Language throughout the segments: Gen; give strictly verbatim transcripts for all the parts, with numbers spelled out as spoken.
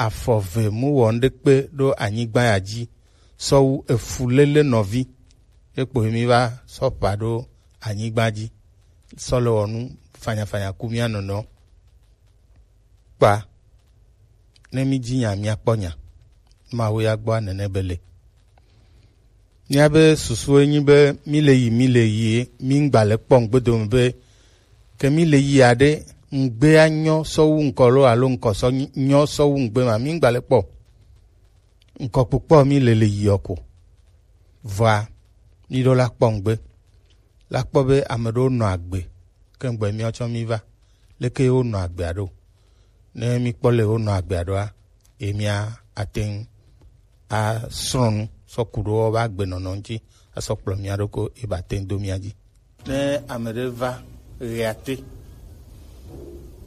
afɔ ve mu wɔ nuɖekpe ɖo anyigba ya ji sɔ wu efu lele nɔvi. Ekpo mi va sɔ ƒa ɖo anyigba ji sɔ le wɔ nu fanyafanya ku mia nɔnɔ. Kpa ne mi ji nya mia kpɔ nya. Mawu ya gbɔ nene be le. Míabe susu enyi be mí le yi, mí le yi, mí ŋgba le kpɔ ŋgbe dome be ke mí le yi aɖe, ŋgbea nyɔ sɔ wu ŋkɔ lo alo ŋkɔ sɔ nyi- nyɔ sɔ wu ŋgbe ma, mí ŋgba le kpɔ. Ŋkɔ kpokpɔ mí le le yi ɔ ko. Vɔa, mí ɖo la kpɔ ŋgbe. La kpɔ be ame ɖewo nɔ agbe, ke ŋgbɛ mía tsɔ mí va. Leke ye wonɔ agbea ɖo? Ne mí kpɔ le wonɔ agbea ɖoa, ye mía ate ŋu asrɔ̃ nu sɔ ku ɖo wobe agbenɔnɔ ŋuti asɔ kplɔ mía ɖo ko ye ba te ŋu do mía ji. Ne ame ɖe va ɣeate,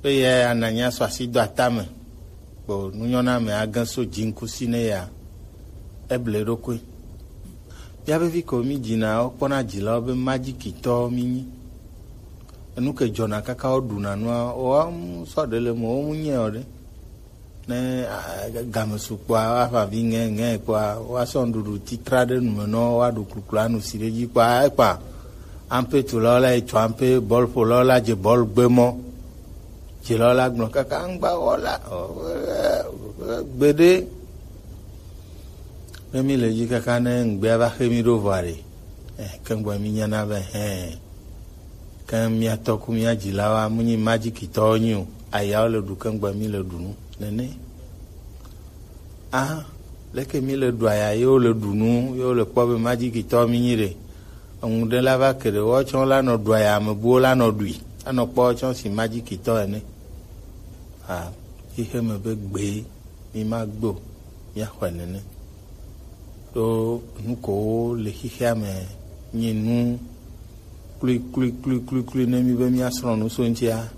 eye ananya sɔ asi do atame, kpo nunyɔname age so dziŋkusi ne ya, eble eɖokui. Mía be vi ko mí dzina wo kpɔna dzilawo be majikitɔ mí nyi. Enu ke dzɔna kaka wo ɖuna nua, woawo mu sɔ ɖe le mo, wo mu nyɛ o ɖe. Ne, a, game su kpɔa, woaƒã vi ŋɛ, ŋɛ kpɔa, woasɔ nuɖuɖu titra ɖe nu me nɔ, woaɖu kluklu anu si ɖe dzi kpɔa, ekpɔa, ampe tulawo la yi tu ampe, bɔl ƒolawo la dze bɔl gbe mɔ. Dzilawo la gblɔ kaka ŋgba wɔ la, o, gbeɖe. Ne mí le dzi kaka ne ŋgbea va xe mí ɖo vɔa ɖe, eh, ke ŋgbɔ mí nyana be, hɛn. Ke mía tɔ ku mía dzilawoa, mu nyi majikitɔwo nyi o. Ayawo le ɖu ke ŋgbɔ mí le ɖu nu. Nene. Ah, leke mí le ɖu aya ye wo le ɖu nu, ye wo le kpɔ be majikitɔ mí nyi ɖe. Eŋu ɖe la va ke ɖe, woawo tsɔ la nɔ ɖu aya, ame buwo la nɔ ɖui. Anɔ kpɔ woawo tsɔ si majikitɔ ene. Ah, xixe me be gbe mí ma gbe o, mía xɔe nene. Ɖo nu kowo le xixea me nyi nu klui, klui, klui, klui, klui ne mí be mía srɔ̃ nu so ŋutia.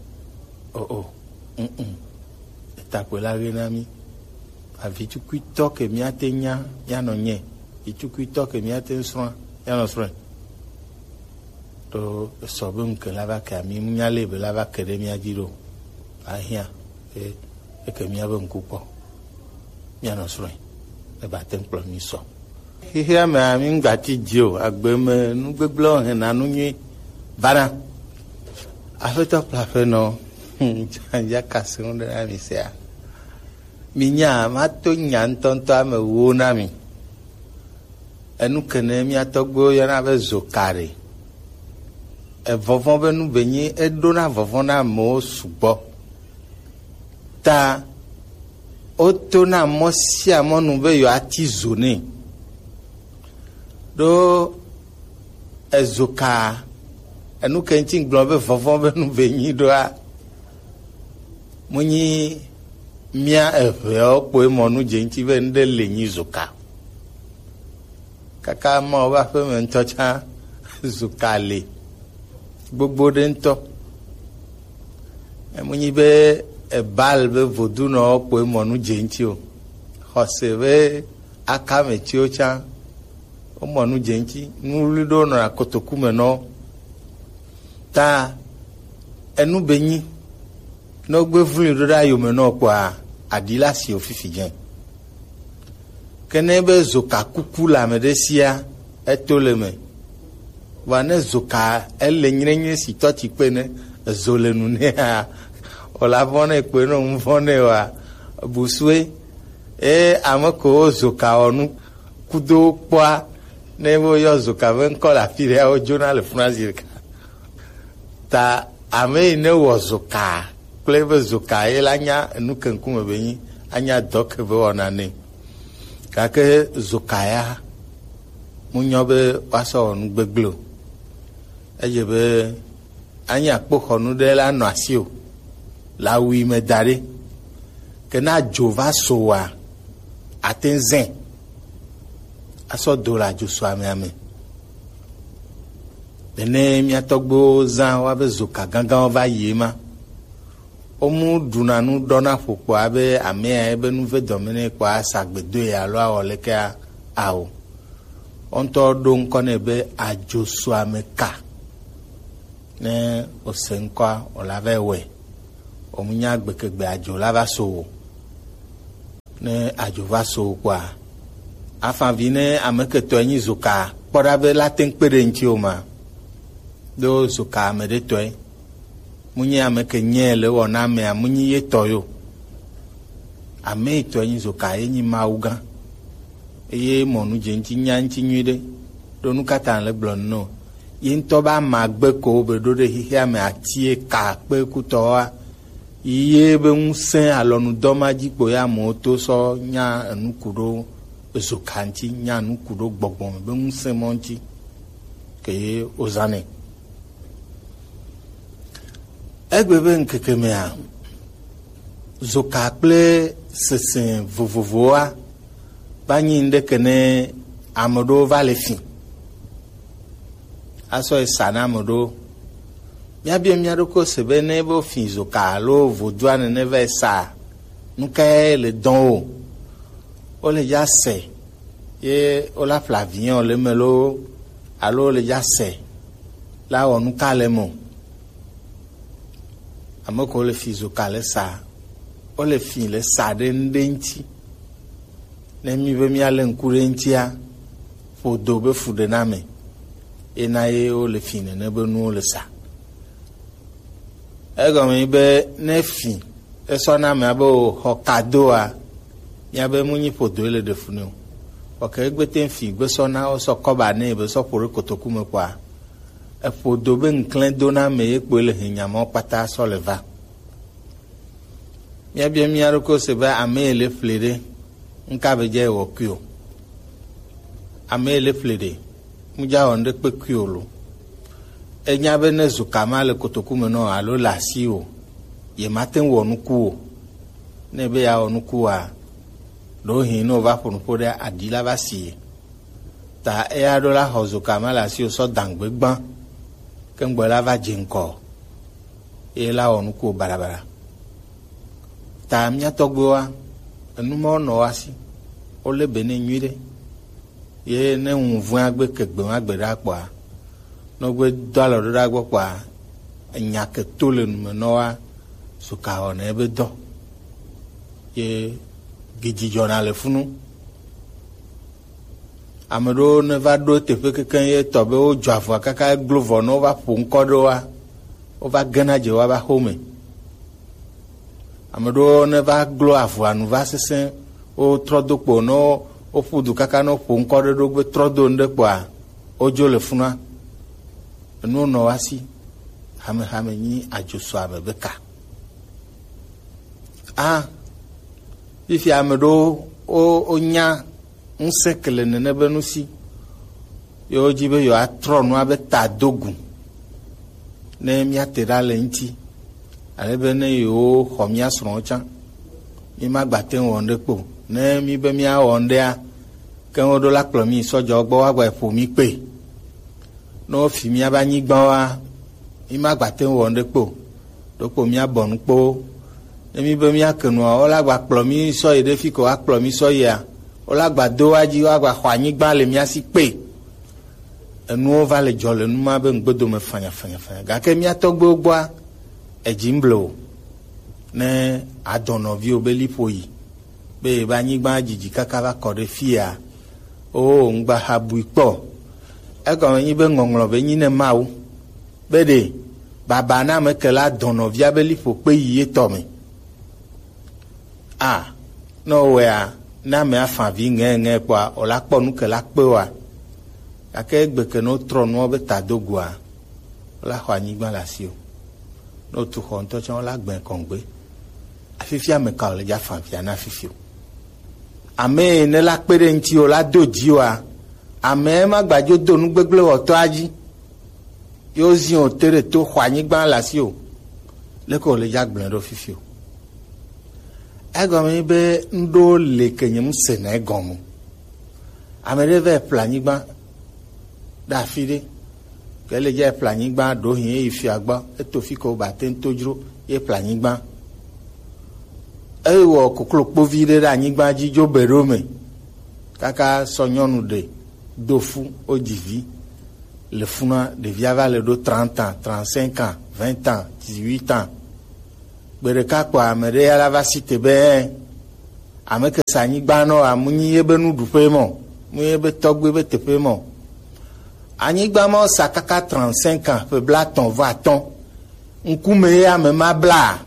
O, o, mm, mm. Eta kpoe la ɣe na mí. Avi tukuitɔ ke mía te nya, mía nɔ nyɛ. Vi tukuitɔ ke mía te srɔ̃, mía nɔ srɔ̃. To esɔ be ŋke la va ke ami nya le be la va ke ɖe mía dzi ɖo. Ahia, e, eke mía be ŋku kpɔ. Mía nɔ srɔ̃. E ba te kplɔ mí sɔ. Xixia me ami ŋgbati dzi o, agbe me nu gbegblẽ hena nu nyui vana. Aƒetɔ kple aƒenɔ, ya kasi ŋu ɖe na mi sia. Mi nya, ma to nya ŋutɔŋutɔ ame wo na mi. Enu kene mía tɔgbuiwo yɔna be zokari. Evɔvɔ̃ be nu be nyi eɖona vɔvɔ̃ na amewo sugbɔ. Ta wotona mɔ sia mɔ nu be yewoati zo nɛ. Ɖo ezoka, enu ke ŋuti gblɔ be vɔvɔ̃ be nu be nyi ɖoa, mu nyi mía eʋeawo kpoe mɔ nu dze ŋuti be ŋɖe le nyi zoka. Kaka Mawu be aƒeme ŋutɔ tsã, zoka le gbogbo ɖe ŋutɔ. Emu nyi be ebal be vodunɔwo kpoe mɔ nu dze ŋuti o. Xɔse be akame tsiwo tsã, womɔ nu dze ŋuti. Nu wluwlui ɖewo nɔna kotoku me nɔ wo. Ta enu be nyi, ne wogbe vlui ɖo ɖe ayome nɔ kpɔa, aɖi la si wo fifi dze. Ke ne be zoka kuku le ame ɖe sia, eto le me. Vɔa ne zoka ele nyrenyre si tɔ tsi kpe ne ezo le nu nɛa, o la vɔ̃ nɛ kpe ne ŋu vɔ̃ nɛ wa, busue. E ame ko wo zoka wɔ nu kudo kpɔa, ne wo yɔ zoka be ŋkɔ le afi ɖea, wo dzona le funa zi ɖeka. Ta ame yi ne wɔ zoka kple ebe zoka ye la nya enu ke ŋkume be nyi, anya dɔ ke be wɔna nɛ. Gake zoka ya mu nyɔ be woasɔ wɔ nu gbegblẽ o. Edze be anyi akpoxɔnu ɖe la nɔ asi o, le awu yi me da ɖe. Ke ne adzo va so wa, ate ŋu zẽ asɔ do le adzo so amea me. Nene mía tɔgbuiwo zã woabe zoka gãgãwo va yi ema. Womu ɖuna nu ɖɔna ƒo kpɔ abe amea ebe nu ve dɔme nɛ kpɔ asa gbe doe alo awɔ leke a-, ao. Wo ŋutɔ ɖo ŋkɔ nɛ be adzo so ame ka. Ne wose ŋkɔa, wòla va wɔe. Womu nya gbekegbe adzo la va so o. Ne adzo va so kpɔa, afavi ne ame ketɔe nyi zoka, kpɔ ɖa be la te ŋu kpe ɖe ŋuti o ma. Ɖo zoka ame ɖe tɔe. Mu nyi ame ke nyɛ le wɔ na amea, mu nyi ye tɔ yo. Ame yi tɔe nyi zoka, ye nyi Mawu gã. Eye mɔ nu dze ŋuti nya ŋuti nyuiɖe. Ɖo nu ka ta le gblɔ nu no? Ye ŋutɔ be amagbe ko be ɖo ɖe xexea me ati ye ka kpe kutɔwoa. Ye be ŋusẽ alɔnudɔ ma dzi kpo ya amewo to sɔ nya enu ku ɖo ezo ka ŋuti, nya nu ku ɖo gbɔgbɔ me be ŋusẽ mɔ ŋuti ke ye wozãnɛ. Egbe be ŋkeke mea, zoka kple sese vovovowoa va nyi ŋɖeke ne ame ɖewo va le fi asɔ yi sa na ame ɖewo. Míabia mía ɖokui se be ne wofi zoka alo vodua nene va yi sa, nu kae le dɔn wo? Wole dza se ye wola ƒle avion le eme loo alo wole dza se la wɔ nu ka le eme o? Ame ko le fi zoka le sa, wole fi le sa ɖe nu ɖe ŋuti. Ne mi be míalé ŋku ɖe eŋutia, ƒodo be fuɖename, ena ye wole fi nene be nuwo le sa. Egɔme nyi be ne fi esɔ na amea be wòxɔ kadoa, míabe mu nyi ƒodoe le ɖe fu nɛ o. Vɔ ke egbe te fi gbe sɔ na wosɔ kɔba nɛ be sɔ ƒo ɖe kotoku me kpɔa, eƒodo be ŋklẽ do na ame ye kpoe le hɛnya mawo kpata sɔ le va. Míabia mía ɖokui se be ame yi le ƒle ɖe, ŋka be dze wɔ kui o. Ame yi le ƒle ɖe, mu dza wɔ ŋɖe kpe kui o lo. Enya be ne zoka ma le kotoku me nɔ alo le asi o, ye ma te ŋu wɔ nuku o. Ne be ya wɔ nuku wa, ɖo hin ne wova ƒo nuƒo ɖe aɖi la va si ye. Ta eya ɖo la xɔ zoka ma le asi o sɔ dangbe gbã. Ke ŋgbɔ la va dze ŋkɔ. Ye la wɔ nuku baɖabaɖa. Ta mía tɔgbuiwoa, enu mawo nɔ woa si, wolé be nɛ nyuiɖe. Ye ne ŋu vɔ̃e agbe ke gbe ma gbe ɖa kpɔa, ne wogbe do alɔ ɖo ɖa gbɔ kpɔa, enya ke to le nu me nɔ woa, suka wɔna ebe dɔ. Ye gidzi dzɔna le funu. Ame ɖewo ne va ɖo teƒe kekeŋ ye tɔ be wodzɔ avɔa kaka eglo vɔ ne wova ƒo ŋkɔ ɖe woa, wova gena dze woa va xome. Ame ɖewo ne va glo avɔa nu va sesẽ, wotrɔ do kpo ne wo- woƒu du kaka ne woƒo ŋkɔ ɖe ɖo gbe trɔ do nu ɖe kpoa, wodzo le funua. Enuwo nɔ woa si, hamehame nyi adzosua me be ka. A, fifia ame ɖewo wo- wonya ŋusẽ ke le nene be nu si. Yewo dzi be yewoatrɔ nua be tadogu ne míate ɖa le eŋuti, ale be ne yewoxɔ mía srɔ̃wo tsã, mímagbate ŋu wɔ ŋɖe kpo. Ne mí be míawɔ ŋɖea, ke woɖo la kplɔ mí sɔdzɔwo gbɔ woagba ƒo mí kpe. Ne wofi míabe anyigbawoa, mímagbate ŋu wɔ ŋɖe kpo o. Ɖokpo míabɔ nu kpo. Ne mí be míake nua, wola gba kplɔ mí sɔ yi ɖe fi ke woakplɔ mí sɔ yia, wola gba do wa dzi, woagba xɔ anyigba le mía si kpe. Enuwo va le dzɔ le nu ma be ŋgbedome fanyafanyafanya. Gake mía tɔgbuiwo gbɔa, edzi ŋble o. Ne adɔ nɔviwo be liƒo yi, be yebe anyigba didi kaka va kɔ ɖe fia, o ŋgba ha bui kpɔ. Egɔme nyi be ŋɔŋlɔ be nyi ne Mawu. Be ɖe baba na ame ke la dɔ nɔvia be liƒo kpe yi etɔ me. A, ne wowɔea, ne ame afa vi ŋɛŋɛ kpɔa, wòla kpɔ nu ke la kpe wa. Gake egbe ke ne wotrɔ nua be tadogoa, wola xɔ anyigba le asi o. Ne wotu xɔ ŋutɔ tsã, wola gbɛ kɔŋgbe. Afifia ame ka wòle dza fa via na fifi o. Ame yi ne la kpe ɖe ŋuti o, la do dzi oa, ame ma gbadzo do nu gbegblẽ wɔtɔa dzi. Yo zi o te ɖe to xɔ anyigba le asi o. Leke wòle dza gblẽ ɖo fifi o. Egɔme nyi be ŋɖewo le ke nye ŋusẽ na egɔme o. Ame ɖe va yi ƒle anyigba ɖe afi ɖe. Ke le dza yi ƒle anyigba ɖo hin eyi fia gbɔ, eto fi ke wobate ŋu to dzro ye ƒle anyigba. Ewɔ koklo kpovi ɖe ɖe anyigba dzi dzo be ɖo me. Kaka sɔ nyɔnu ɖe do fu wodzi vi. Le funua, ɖevia va le ɖo trente ans, trente-cinq ans, vingt ans, dix-huit ans. Gbe ɖeka kpɔ ame ɖe ya la va si te be, Ame ke sa anyigba nɔ wa, mu nyi ye be nuɖuƒe mɔ, mu nyi ye be tɔgbe be teƒe mɔ. Anyigba ma sa kaka trente-cinq ans, ƒe blaetɔ̃ vɔ atɔ̃. Ŋkume ye ame ma bla,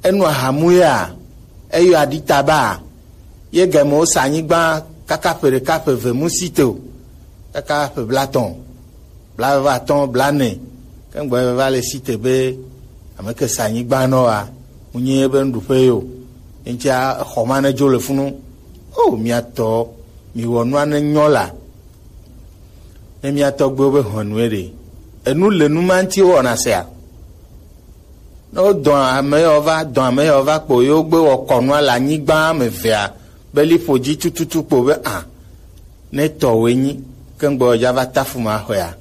enu ahamu ya, eyɔ aɖitaba, ye game wosa anyigba kaka ƒe ɖeka ƒe eve mu si te o, kaka ƒe blaetɔ̃, blaeve vɔ atɔ̃, blaene, ke ŋgbɔ ye va le si te be ame ke sa anyigba nɔ wa, mu nyi ye be nuɖuƒe yo. Ye ŋutia exɔ ma ne dzo le funu. O, mia tɔ, mi wɔ nua ne nyɔ la. Ne mia tɔgbewo be hɔnue ɖe, enu le nu ma ŋuti wɔna sea? Ne wodɔ ame yawo va, dɔ ame yawo va kpo, yewo gbe wɔ kɔnua le anyigba ame evea be liƒo dzi tututu kpo be a, ne tɔwòe nyi, ke ŋgbɔ dza va tafu ma xɔea,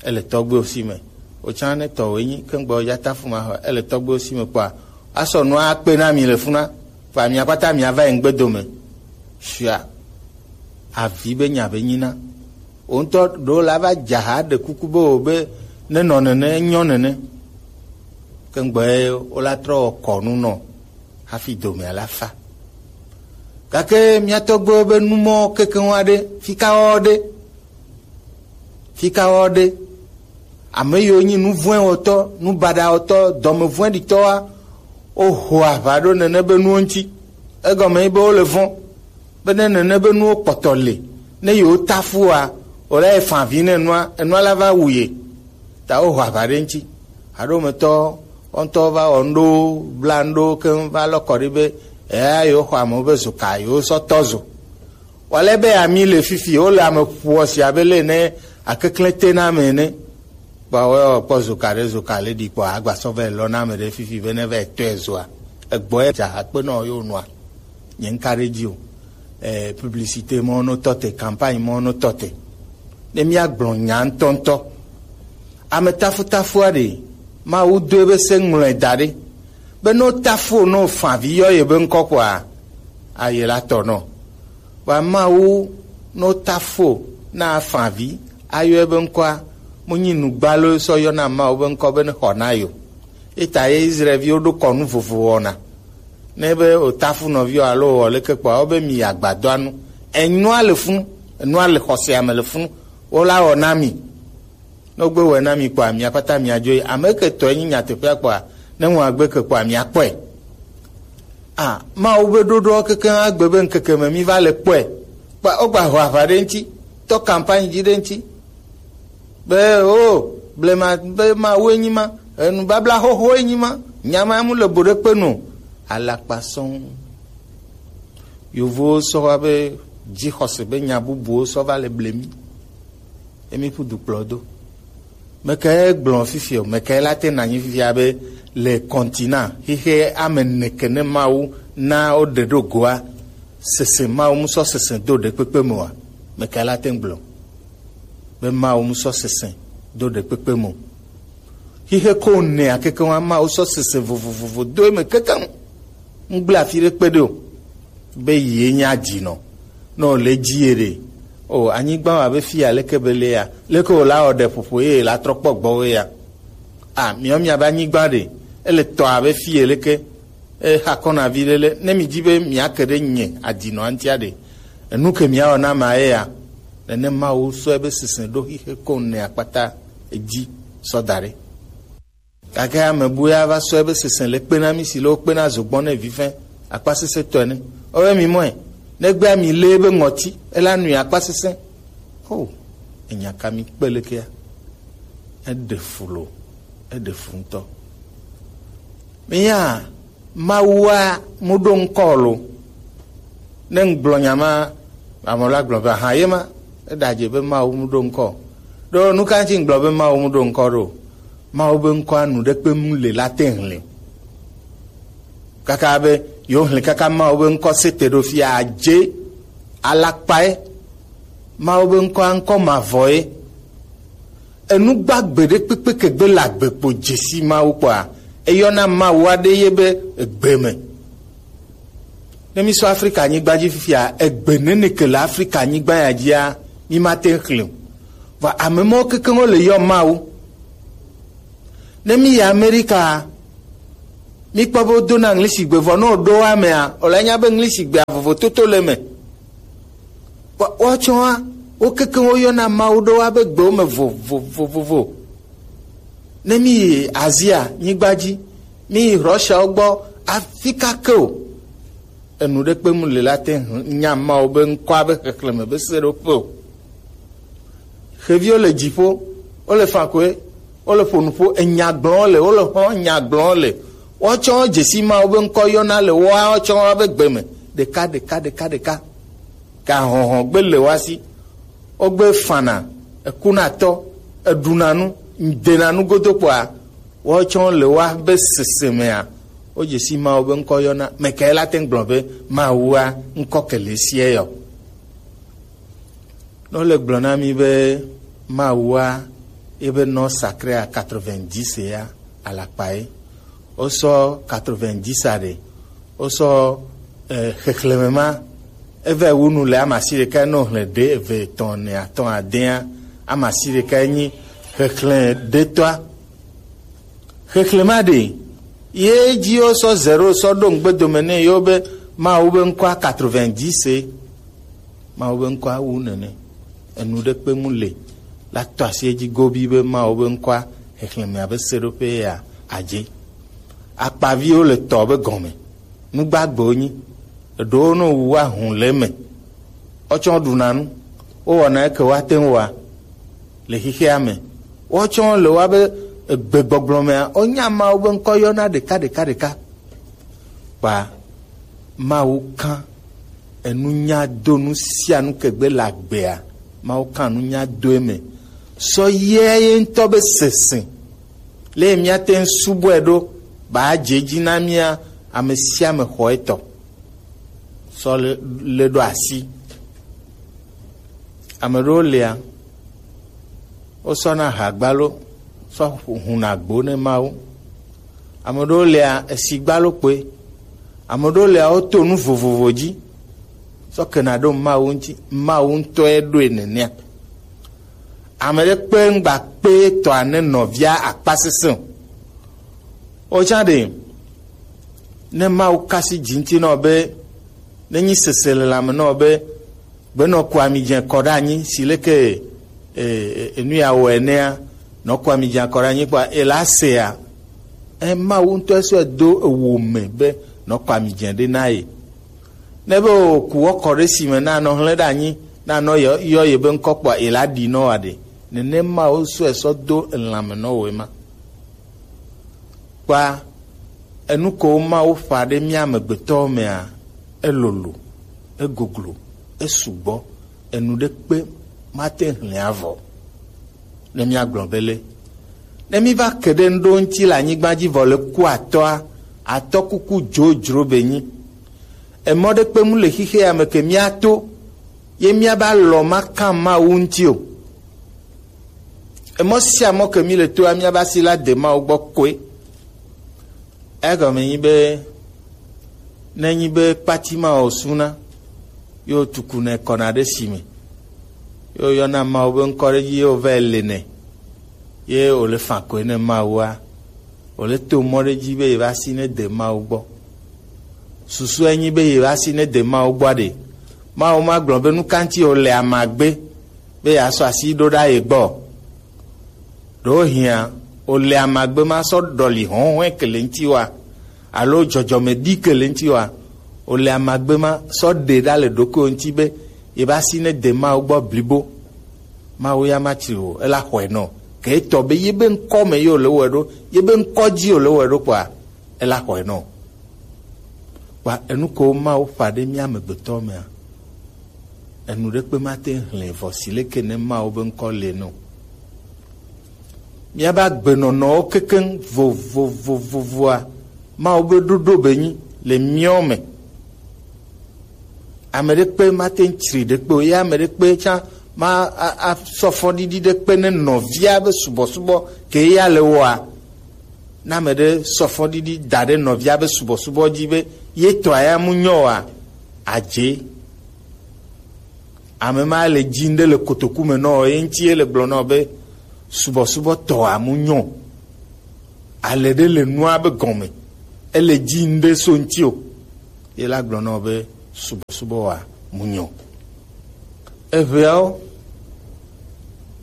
ele tɔgbewo si me. Wòtsã ne tɔwòe nyi, ke ŋgbɔ dza tafu ma xɔea, ele tɔgbewo si me kpɔa, asɔ nua akpe na mi le funa, kpa mia kpata mia va yi ŋgbe dome. Shia, avi be nya be nyina. Wò ŋutɔ ɖewo la va dza ha ɖe kuku be wò be ne nɔ nene, enyɔ nene. Ke ŋgbɔ ye wola trɔ wɔ kɔnu nɔ hafi domea la fa. Gake mia tɔgbewo be numɔ kekeŋ aɖe, fika wɔ ɖe, fika wɔ ɖe, ame yiwo nyi nu vɔ̃e wɔtɔ, nu baɖa wɔtɔ, dɔme vɔ̃ɖitɔa, woho aʋa ɖo nene be nuwo ŋuti. Egɔme nyi be wole vɔ̃. Be ne nene be nuwo kpɔtɔ le, ne yewo tafu wa, wòla yi fa avi ne enua, enua la va wu ye. Ta woho aʋa ɖe ŋuti. Haɖometɔ, wo ŋutɔ va wɔ ŋɖo, bla ŋɖo keŋ va lɔ kɔ ɖi be, eya yewo xɔ amewo be zoka, yewo sɔ tɔ zo. Wale be ami le fifi, wole ame ƒoɔ si abe le ne akeklẽ te na ame ene. Kpɔ, woyɔ kpɔ zoka ɖe, zoka le ɖi kpɔ, agba sɔ vɛ lɔ na ame ɖe fifi be ne vɛ tɔe zoa. Egbɔ ye dza akpe nɔ yo nua. Nye ŋka ɖe dzi o. Eh, publicité mɔ no tɔ te, campagne mɔ no tɔ te. Ne mia gblɔ nya ŋutɔŋutɔ. Ame tafutafua ɖe, Mawu do ebe se ŋlɔe da ɖe. Be no tafu no fa vi yɔ ye be ŋkɔ kpɔa, aye la tɔ nɔ. Wa Mawu no tafu na fa vi, ayɔ ebe ŋkɔa, mo nyi nugbalo sɔ yɔ na Mawu be ŋkɔ be ne xɔ na yo. Eta ye Israelviwo ɖo kɔnu vovo wɔna. Ne be o tafu nɔviwo alo wɔ leke kpɔa, wo be mi agbadɔa nu. Enua le funu, enua le xɔse ame le funu, wo la wɔ na mi. Ne wogbe wɔe na mi kpɔa, mia kpata mia dzo yi. Ame ke tɔe nyi nyateƒea kpɔa, ne ŋlɔ agbe ke kpɔa, mia kpɔe. A, Mawu be ɖoɖoa keke agbe be ŋkeke me mi va le kpɔe. Kpa, wogba ho aʋa ɖe ŋuti, tɔ campagne dzi ɖe ŋuti. Be, o, blema, be Mawu enyi ma, enu babla xoxo enyi ma, nya ma mu le bo ɖe kpe nu. Alakpa sɔŋ. Yovowo sɔ va be dzixɔse be nya bubuwo sɔ va le ble mi. Emi ƒu du kplɔ do. Meke gblɔ fifi o, meke la te na nyi fifia be le continent, xixe ame neke ne Mawu na wo ɖe ɖo goa, sese Mawu mu sɔ sese do ɖe kpekpe me wa, meke la te gblɔ be Mawu mu sɔ sese do ɖe kpekpe me o. Xixe ko ne akeke wa Mawu sɔ sese vovovovo do eme kekeŋ. Ŋgble afi ɖe kpe ɖe o. Be ye nya dzi nɔ. Nɔ le dzi ye ɖe. O, anyigba wa be fi ya leke be le ya. Leke o la o ɖe ƒoƒo ye la trɔ kpɔ gbɔ we ya. A, miɔ mia be anyigba ɖe. Ele tɔ abe fi ye leke. E xa kɔna vi ɖe le. Ne mi dzi be mia ke ɖe nye adinɔ antia ɖe. Enu ke mia wɔ na ma ye ya. Nene Mawu sɔ ebe sese ɖo xixe ko ne akpata edzi sɔ da ɖe. Gake ame bu ya va sɔ ebe sese le kpe na mi si le wo kpe na zogbɔ ne vifɛ akpa sese tɔe ne. Ɔwɛ mi mɔe. Negbe mi le ebe ŋɔti, ela nui akpa sese. O, enya ka mi kpe lekea? Eɖe fu lo, eɖe fu ŋutɔ. Mi ya, Mawua mu ɖo ŋkɔ lo. Ne ŋgblɔ nya ma, ame la gblɔ be, aha, ye ma, eɖadze be Mawu mu ɖo ŋkɔ. Ɖo nu ka ŋuti ŋgblɔ be Mawu mu ɖo ŋkɔ ɖo? Mawu be ŋkɔa nu ɖe kpe mu le la te ŋlɛ. Kaka be, yewo hlẽ kaka Mawu be ŋkɔ se te ɖo fia dze alakpae. Mawu be ŋkɔa ŋkɔ mavɔ ye. Enu gbagbe ɖe kpekpe ke gbe le agbe kpo dzesi Mawu kpɔa, eyɔna Mawu aɖe ye be egbe me. Ne mi sɔ Afrika nyigba dzi fifia, egbe nene ke le Afrika nyigba ya dzia, mi ma te ŋu xlẽ o. Vɔ ame mawo kekeŋ wo le yɔ Mawu. Ne mi yi Amerika, Mi kpɔ be wodona ŋlisigbe vɔ ne woɖo wa mea, wòle nya be ŋlisigbea vovototo le eme. Wa-, woatsɔa, wo kekeŋ woyɔna Mawu ɖo wa be gbewo me vovovovovo. Ne mi yi Azia nyigba dzi, mi yi Russiawo gbɔ, afi ka ke o, enu ɖe kpe mu le la te ŋu nya Mawu be ŋkɔa be xexlẽme be seɖoƒe o. Xeviwo le dziƒo, wole fakɔe, wole ƒo nuƒo, enya gblɔm le, wole xɔ nya gblɔm le. Woatsɔ dzesi Mawu be ŋkɔ yɔna le woawo tsɔ wobe gbe me. Ɖeka, ɖeka, ɖeka, ɖeka. Gahɔhɔ gbe le woa si. Wogbe fana, ekunatɔ, eɖuna nu, ŋdena nu godo kpɔa, woatsɔ le woa be sese mea, wodzesi Mawu be ŋkɔ yɔna. Mekae la te ŋu gblɔ be Mawua ŋkɔ ke le sia yɔ? Ne wole gblɔ na mí be Mawua ebe nɔ sacré à quatre-vingt-dix ya, alakpa ye. Wosɔ quatre-vingt-dix a ɖe. Wosɔ, eh, xexlẽme ma. Eve wu nu le ama si ɖeka nɔ xlẽ ɖe eve etɔ̃ ene atɔ̃ adea. Ama si ɖeka nyi xexlẽ ɖetɔa. Xexlẽma ɖe, ye dzi wosɔ zéro sɔ ɖo ŋgbe dome nɛ yewo be Mawu be ŋkɔa quatre-vingt-dix ye. Mawu be ŋkɔa wu nene. Enu ɖe kpe mu le la tɔ asi edzi gobi be Mawu be ŋkɔa xexlẽmea be seɖoƒe ya adze. Akpaviwo le tɔ be gɔme. Nugbagbewo nyi. Eɖewo no wu ahun le eme. Wotsɔ ɖuna nu. Wowɔna eke woate ŋu wɔa le xexea me. Woatsɔ le woa be egbegbɔgblɔ mea, wonya Mawu be ŋkɔ yɔna ɖeka ɖeka ɖeka. Kpa Mawu kan enunya do nu sia nu kegbe le agbea. Mawu kan nunya do eme. Sɔ yɛ ye ŋutɔ be sese. Le míate ŋu subɔe ɖo, ba dze dzi na mía ame sia ame xɔ etɔ. Sɔ le, le ɖo asi. Ame ɖewo lia, wosɔna hagbalo sɔ huna agbo ne Mawu. Ame ɖewo lia, esi gbalo kpoe. Ame ɖewo lia, woto nu vovovo dzi sɔ kena ɖo Mawu ŋuti. Mawu ŋutɔe ɖoe nenea. Ame ɖe kpe ŋgba kpe tɔa ne nɔvia akpa sesẽ o. Wotsã ɖe, ne Mawu kasi dzi ŋuti nɔ be, ne nyi sese le lãme nɔ be, gbenɔ ku ami dze kɔ ɖe anyi si leke, e, e, enu ya wɔ enea, nɔ ku ami dze kɔ ɖe anyi kpɔa, ela sea, e, Mawu ŋutɔ esɔe do ewo me be nɔ ku ami dze ɖe na ye. Ne be wòku wɔ kɔ ɖe si me na nɔ hlẽ ɖe anyi, na nɔ yɔ, yɔ ye be ŋkɔ kpɔa, ela ɖi nɔ wa ɖe. Nene Mawu sɔe sɔ do elãme nɔ wòe ma. Kpa enu ko Mawu ƒã ɖe mía amegbetɔwo mea, elolo, egoglo, esugbɔ, enu ɖe kpe mate hlẽ avɔ. Ne míagblɔ be le, ne míva ke ɖe ŋɖo ŋuti le anyigba dzi vɔ le ku atɔa, atɔ kuku dzodzro be nyi. Emɔ ɖe kpe mu le xixea me ke míato, ye míaba lɔ ma kan Mawu ŋuti o. Emɔ sia mɔ ke mi le toa, míaba si la de Mawu gbɔ koe. Egɔme nyi be, ne nyi be kpati ma o suna, yo tuku ne kɔna ɖe si me, yo yɔna Mawu be ŋkɔ ɖe dzi, yo vɛ le ne, ye o le fa koe ne Mawua, o le to mɔ ɖe dzi be ye va si ne de Mawu gbɔ. Susu enyi be ye va si ne de Mawu gbɔ ɖe, Mawu ma gblɔ be nu ka ŋuti o le amagbe be yeasɔ asi ɖo ɖa ye gbɔ. Ɖewohĩa, wòle amagbe ma sɔ ɖɔli hɔ̃hɔ̃e ke le ŋutiwòa, alo dzɔdzɔme ɖi ke le ŋutiwòa, wòle amagbe ma sɔ ɖe ɖa le ɖokuiwò ŋuti be yebe asi ne de Mawu gbɔ blibo. Mawu ya matsri o, ela xɔe nɔ. Ke etɔ be yebe ŋkɔ me ye wòle wɔe ɖo, yebe ŋkɔ dzi wòle wɔe ɖo kpɔa, ela xɔe nɔ. Kpa enu ko Mawu ƒã ɖe mía amegbetɔ mea, enu ɖekpe mate ŋu hlẽ vɔ si leke ne Mawu be ŋkɔ le no. Míabe agbenɔnɔwo kekeŋ vovovovovoa, Mawu be ɖoɖo be nyi le míɔ me. Ame ɖekpe mate ŋu tsri ɖekpe o, ye ame ɖekpe tsã ma a, a sɔ fɔɖiɖi ɖekpe ne nɔvia be subɔsubɔ ke ya le wɔa. Ne ame ɖe sɔ fɔɖiɖi da ɖe nɔvia be subɔsubɔ dzi be ye tɔa ya mu nyɔ oa, adze. Ame ma le dzi ŋɖe le kotoku me nɔ ye ŋuti ye le gblɔ nɔ be subɔsubɔ tɔa mu nyɔ. Ale ɖe le nua be gɔme. ele dzi ŋɖe so ŋti o. Ye la gblɔ nɔ be subɔsubɔ wa mu nyo. Eʋeawo,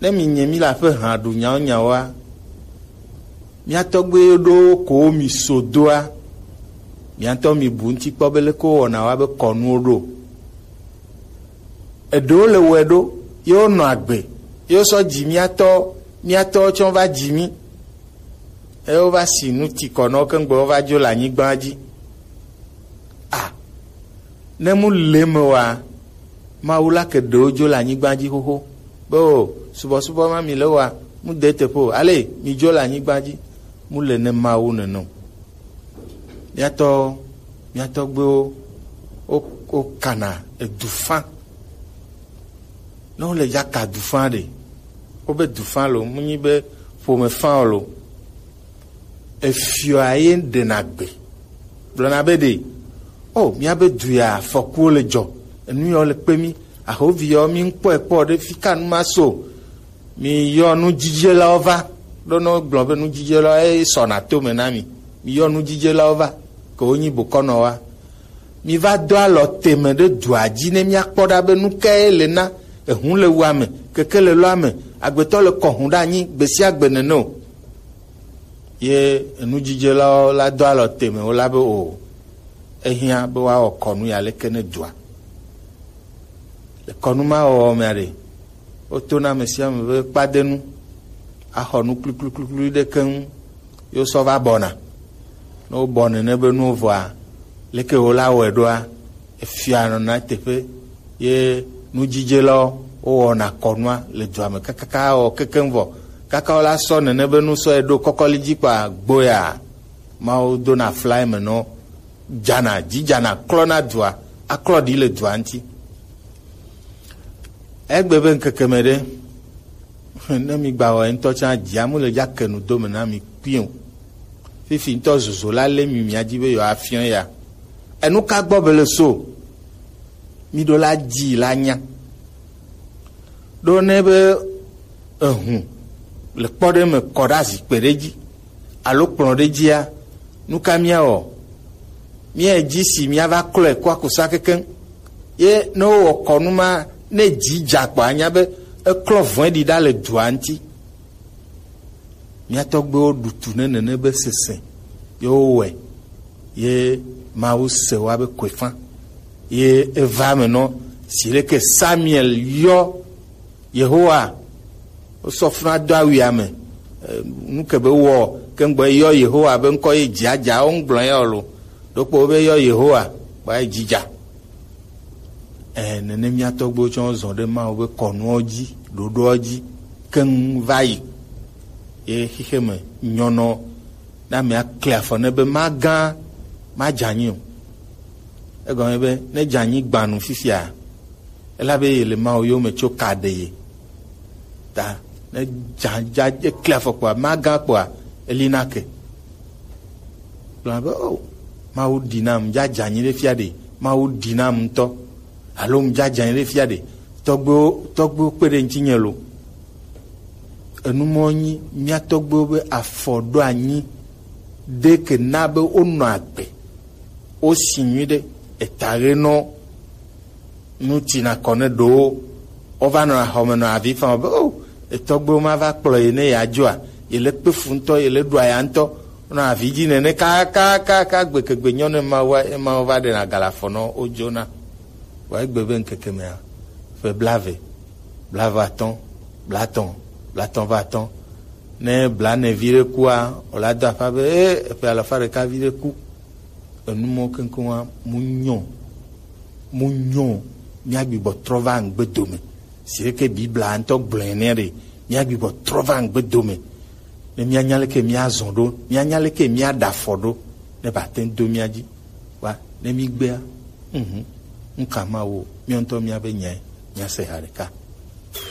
ne mi nye mi la ƒe hã ɖu nyawo nyawoa, mia tɔgbe ɖo ko mi so doa, mia tɔ mi bu ŋti kpɔ be leke wɔna wa be kɔnuwo ɖo. Eɖewo le wɔe ɖo, ye wonɔ agbe, ye wosɔ dzi mia tɔ, mia tɔ tsɔ va dzi mi. Eye wova si nu ti kɔ nɔ wo keŋgbe wova dzo le anyigba dzi. A, ne mu le me wa, Mawu la ke ɖewo dzo le anyigba dzi xoxo. Be o, subɔsubɔ ma mi le wa, mu de teƒe o. Ale mi dzo le anyigba dzi, mu le ne Mawu nene o. Miatɔ, miatɔgbewo, wo, wo kana edu fã. Ne wole dza ka du fã ɖe, wobe du fã lo, mu nyi be ƒome fã o lo. Efiɔa ye ɖena gbe. Gblɔna be ɖe, o, míabe du ya afɔkuwo le dzɔ, enu yawo le kpe mí, ahovi yawo mí ŋkpɔe kpɔ ɖe fi ka nu ma so. Mi yɔ nudzidzelawo va, ɖo ne wogblɔ be nudzidzelawo ye sɔna to me na mi. Mi yɔ nudzidzelawo va, ke wonyi bokɔnɔ wa. Mi va do alɔ teme ɖe dua dzi ne míakpɔ ɖa be nu kae le na ehu le wua me, keke le lɔa me, agbetɔ le kɔ hu ɖe anyi gbe sia gbe nene o. Ye enudzidzelawo la do alɔ teme wo la be o, ehiã be woawɔ kɔnu ya leke ne dua. Le kɔnu ma wɔwɔ mea ɖe, wotona ame sia ame be kpadenu, axɔ nu kluklukluklui ɖe keŋ, ye wosɔ va bɔna. Ne wobɔ nene be nuwo vɔa, leke wola wɔe ɖoa, efia nɔna teƒe, ye nudzidzelawo wowɔna kɔnua le dua me kakaka awɔ kekeŋ vɔ. Kaka wola sɔ nene be nu sɔ ye ɖo kɔkɔli dzi kpa gboya, Mawu dona fla eme nɔ dzana, dzi dzana, klɔna dua, aklɔ ɖi le dua ŋuti. Egbe be ŋkeke me ɖe, ne mi gba wɔ ŋutɔ tsã, dzia mu le dza ke nu do me na mi kpui o. Fifi ŋutɔ zozo la lé mi mia dzi be yewoa fiɔ ya. Enu ka gbɔ be le so? Mi ɖo la dzi la nya. Ɖo ne be ehu le kpɔ ɖe me kɔ ɖe azikpe ɖe dzi alo kplɔ̃ ɖe dzia, nu ka míawɔ? Míae dzi si míava klɔe kɔ akusa kekeŋ. Ye ne wowɔ kɔnu ma, ne dzi dza kpɔ anya be eklɔ vɔ̃e ɖi ɖa le dua ŋuti. Mía tɔgbuiwo ɖu tu ne nene be sese ye wowɔe, ye Mawu se woa be koefã, ye eva eme nɔ si leke Samuel yɔ Yehowa, wosɔ funa do awia me. Eh, nu ke be wɔ ke ŋgbɔ yɔ Yehowa be ŋkɔ ye dzia dza wo ŋgblɔ ya o lo. Ɖokpo be yɔ Yehowa, kpa ye dzidza. Eh, nene mía tɔgbuiwo tsɔ zɔ ɖe Mawu be kɔnuɔ dzi, ɖoɖoɔ dzi keŋ va yi. Ye xixe me nyɔnɔ na mea kle afɔ ne be magã, madze anyi o. Egɔme be ne dze anyi gbanu fifia, ela be ye le Mawu yome tso ka ɖe ye. Ta ne dza dza ekle afɔ kpɔa, magã kpɔa, eli na ke. Gblɔ be, o, Mawu ɖi nam, dza dze anyi ɖe fia ɖe, Mawu ɖi nam ŋutɔ, alo ŋdza dze anyi ɖe fia ɖe, tɔgbuiwo, tɔgbuiwo kpe ɖe ŋutinye lo. Enu mɔ nyi mía tɔgbuiwo be afɔ ɖo anyi ɖe ke na be wonɔ agbe, wosi nyuiɖe, eta ɣe nɔ nu tina kɔ ne ɖowo. Wova nɔ axɔme nɔ avi fam be, o, etɔgbewo ma va kplɔ ye ne yeadzoa, ye le kpe fu ŋutɔ, ye le ɖu aya ŋutɔ, nɔ avi dzi nene kakakaka, gbekegbe nyɔ ne Mawu, ye Mawu va ɖena galafɔ nɔ wo dzona. Vɔ egbe be ŋkeke mea, ƒe blaeve, blaeve atɔ̃, blaetɔ̃, blaetɔ̃ va atɔ̃. Ne blaene vi ɖe kua, wòla do aƒa be, e, eƒe alafa ɖeka vi ɖe ku. Enu mɔ keŋkeŋ wa, mu nyɔ, mu nyɔ, mía gbigbɔ trɔ va ŋgbe dome. Si ɖeke Biblia ŋutɔ gblɔe nɛ ɖe, mía gbigbɔ trɔ va ŋgbe dome. Ne mía nya leke mía zɔ ɖo, mía nya leke mía ɖa afɔ ɖo, ne ba te ŋu do mía dzi. Wa, ne mí gbea, mhm, ŋka ma wo, mía ŋutɔ mía be nyae, mía se ha ɖeka.